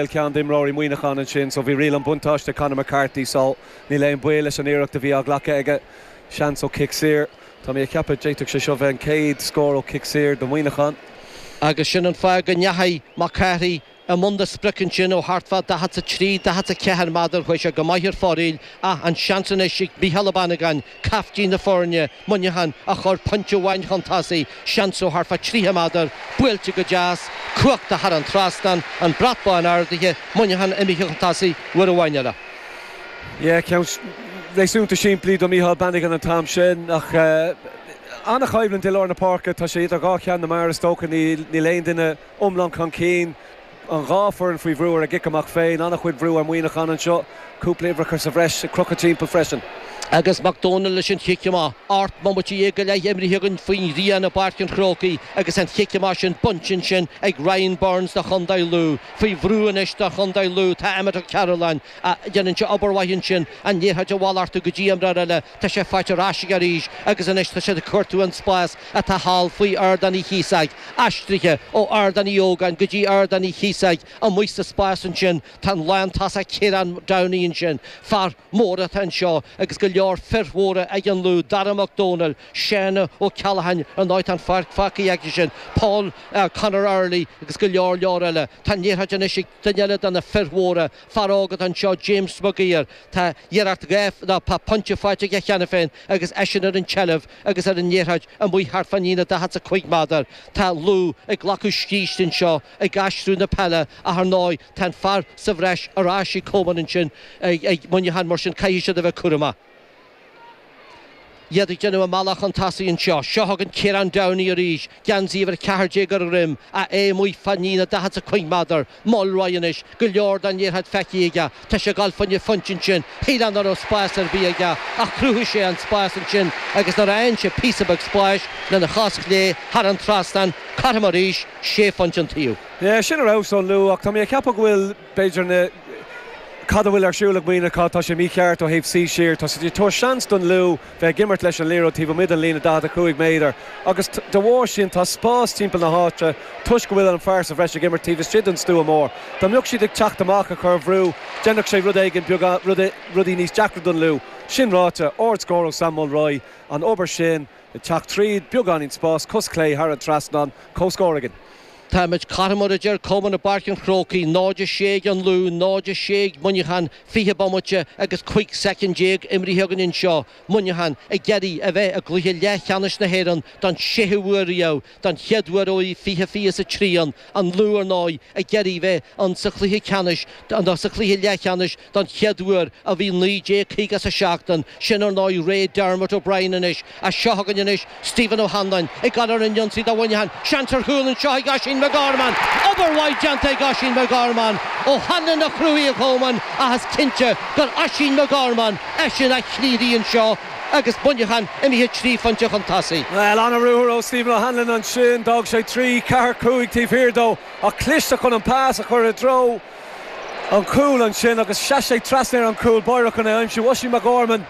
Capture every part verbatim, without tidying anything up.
Ceann d'imreoirí Mhuineacháin ansin, so bhí riail an buntáiste Conor McCarthy, so níl aon baol leis an iarracht a bhí á glacadh aige. Seans ó chic saor. Tá mé ag ceapadh d'fhéadfadh sé seo bheith an chéad scór ó chic saor do Mhuineachán. Agus sin an fáth go ndeachaigh McCarthy i mbun na sprice ansin ó thart fá daichead a trí, daichead a ceathair méadar. Chuaigh sé go maith ar fóraoil ach an seans anois ag Micheál Ó Bannagáin, caiftín na foirne, Muineachán a chur pointe amháin chun tosaigh. Seans ó thart fá tríocha méadar, buailte go deas, cumhachtach thar an trasnán, an brat bán ardaithe, Muineachán imithe chun tosaigh uair amháin eile. Yeah, ceann réasúnta simplí do Micheál Bannigan an t-am sin, ach an-choimhlint i lár na páirce. Tá sé idir dhá cheann na meá, is dócha. Níl aon duine iomlán chun cinn. An dhá foireann faoi bhrú ar a gcic amach féin. An-chuid bhrú ar Mhuineachán anseo. Cúpla uimhreacha sa bhreis ag crochadh timpeall freisin. Agus Mac Dónaill leis an chic amach. Ocht mbomaite dhéag go leith imrithe againn faoin ghrian i bPáirc an Chrócaigh agus an chic amach sin bainte ansin ag Ryan Burns do chontae Lú. Faoi bhrú anois do chontae Lú tá Emmet Ó Cearúlláin. Déanann sé obair mhaith ansin, an liathróid a mhalartú go dtí imreoir eile. Tá sé faighte ar ais aige arís agus anois tá siad ag cuartú an spás atá thall faoi Ardán Uí Chíosóg. Aistrithe ó Ardán Uí Ógáin go dtí Ardán Uí Chíosóig. Amuigh sa spás ansin tá an lántosach Ciarán Downey ansin. Fear mór atá anseo agus go leor fir mhóra ag an Lú, Dara Mac Dónaill, Seán Ó Ceallacháin, ar ndóigh tá an pháirc fágtha aige sin, Paul Conor Early agus go leor leor eile. Tá an liathróid anois ag duine eile de na fir mhóra, fear óg atá anseo, James Maguire. Tá iarracht dhá, nó tá pointe faighte aige cheana féin agus eisean ar an tseilbh agus ar an liathróid amuigh thart fán líne daichead is a cúig méadar. Tá Lú ag glacadh scíste anseo, ag aistriú na peile ach ar ndóigh tá an fear sa bhreis ar ais ag Coman ansin ag Muineachán, mar sin caithfidh siad a bheith cúramach. Iad ag déanamh a mbealach chun tosaigh anseo. Seo chugainn Ciarán Downey arís, geansaí uimhir a ceathair déag ar a dhroim, ach é amuigh fán líne daichead is a cúig méadar. Mulroy anois, go leor den liathróid feicthe aige. Tá sé ag dul fá choinne phointe ansin. Shílfeá nach raibh spás ar bith aige, ach chruthaigh sé an spás ansin agus nuair a fhaigheann sé píosa beag spáis lena chos chlé thar an trasnán, cothrom arís, sé phointe an taobh. Yeah, sin ar fheabhas ón Lú, ach tá mé ag ceapadh go bhfuil, b'fhéidir, na cad a bhfuil ar siúl ag Muineachán, tá sé mícheart ó thaobh suí siar. Tá siad ag tabhairt seans don Lú bheith ag imirt leis an liathróid taobh amuigh den líne daichead a cúig méadar agus de bharr sin tá spás timpeall na háite toisc go bhfuil an fear sa bhreis ag imirt taobh istigh den stua mór. Dá mbeadh siad ag teacht amach ag cur bhrú, déanfadh sé rud éigin beag, rudaí níos deacra don Lú. Sin ráite, ardscór ó Sam Mulroy, an obair sin ag teacht tríd, beagáinín spás, cos chlé thar an trasnán, comhscór againn. Táimid cothrom, mar a deir Coman i bPáirc an Chrócaigh, náid a sé ag an Lú, náid a sé ag Muineachán, fiche bomaite agus cúig soicind déag imrithe againn anseo. Muineachán ag iarraidh a bheith i gcluiche leathcheannais na hÉireann don séú huair riamh, don chéad uair ó bhí fiche fiche is a trí ann. An Lú, ar ndóigh, ag iarraidh bheith ann sa chluiche ceannais, nó sa chluiche leathcheannais don chéad uair ó bhí naoi déag caoga is a seacht ann. Sin, ar ndóigh, ré Dermot O'Brien anois. Ach seo chugainn anois Stephen O'Hanlon ag dul ar an ionsaí do Mhuineachán. Seans ar chúl anseo ag Oisín McGorman! Obair mhaith déanta ag Oisín McGorman! O'Hanlon a chruthaigh a Choman ach is cinnte gur Oisín McGorman eisean a chlíoraigh anseo agus Muineachán imithe trí phointe chun tosaigh. Bhuel, an-ruathar ó Stephen O'Hanlon ansin. D'fhág sé trí, ceathair, cúig taobh thiar dó ach cliste chun an pas a chur i dtreo an chúil ansin agus sheas sé trasna ar an chúl báire chun é a aimsiú. Oisín McGorman,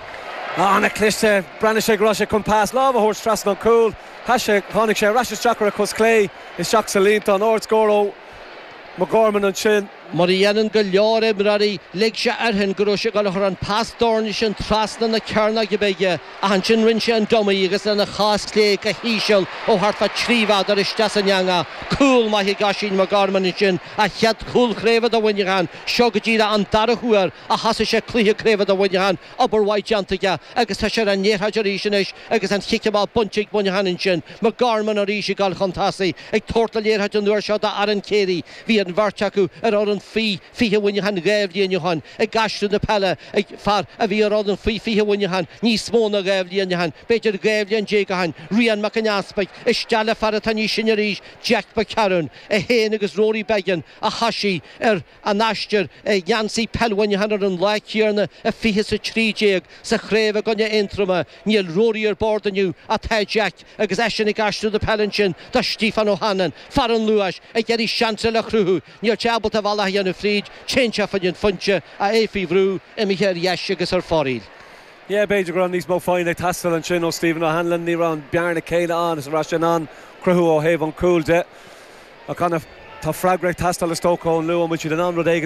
an-chliste. Bhreathnaigh sé go raibh sé chun pas láimhe a thabhairt trasna an chúil. Sheas sé, tháinig sé ar ais isteach ar a chos chlé, isteach sa líontán. Ardscór ó McGorman ansin. Mar a dhéanann go leor imreoirí, lig sé air féin go raibh sé ag dul a chur an pas doirne sin trasna na cearnóige bige, ach ansin rinne sé an dummy agus lena chos chlé go híseal ó thart fá trí mhéadar isteach san eangach. Cúl maith ag Oisín McGorman ansin, a chéad chúl craoibhe do Mhuineachán. Seo go díreach an dara huair a thosaigh sé cluiche craoibhe do Mhuineachán. Obair mhaith déanta aige agus tá sé ar an liathróid arís anois agus an chic amach bainte ag Muineachán ansin. McGorman arís ag dul chun tosaigh, ag tabhairt na liathróide an uair seo d'Aaron Carey. Bhí an bheirt acu ar fhoireann faoi fiche Mhuineacháin dhá bhliain ó shin, ag aistriú na peile ag fear a bhí ar fhoireann faoi fiche Mhuineacháin níos mó ná dhá bhliain ó shin, b'fhéidir dhá bhliain déag ó shin. Rian Mac an Easpaig isteach le fear atá níos sine arís, Jack McCarron, é féin agus Rory Beggan a thosaigh ar an aistear i ngeansaí peil Mhuineacháin ar an lá céanna i fiche is a trí déag sa chraobh i gcoinne Aontroma. Níl Rory ar bord inniu ach tá Jack agus eisean ag aistriú na peile ansin do Stiofán O'Hanlon, fear an Luais, ag iarraidh seans eile a chruthú. Níl sé ábalta a bhealach a dhéanamh fríd, téann sé fá choinne an phointe ach é faoi bhrú, imithe ar dheis agus ar fóraoil. Yeah, b'fhéidir go raibh níos mó foighne ag teastáil ansin ó Stephen O'Hanlon. Ní raibh an bearna céanna ann is a raibh sé in ann cruthú ó thaobh an chúil de. Ach ana Tá freagra ag teastáil is dócha ón Lú an bhfuil siad in ann rud éigin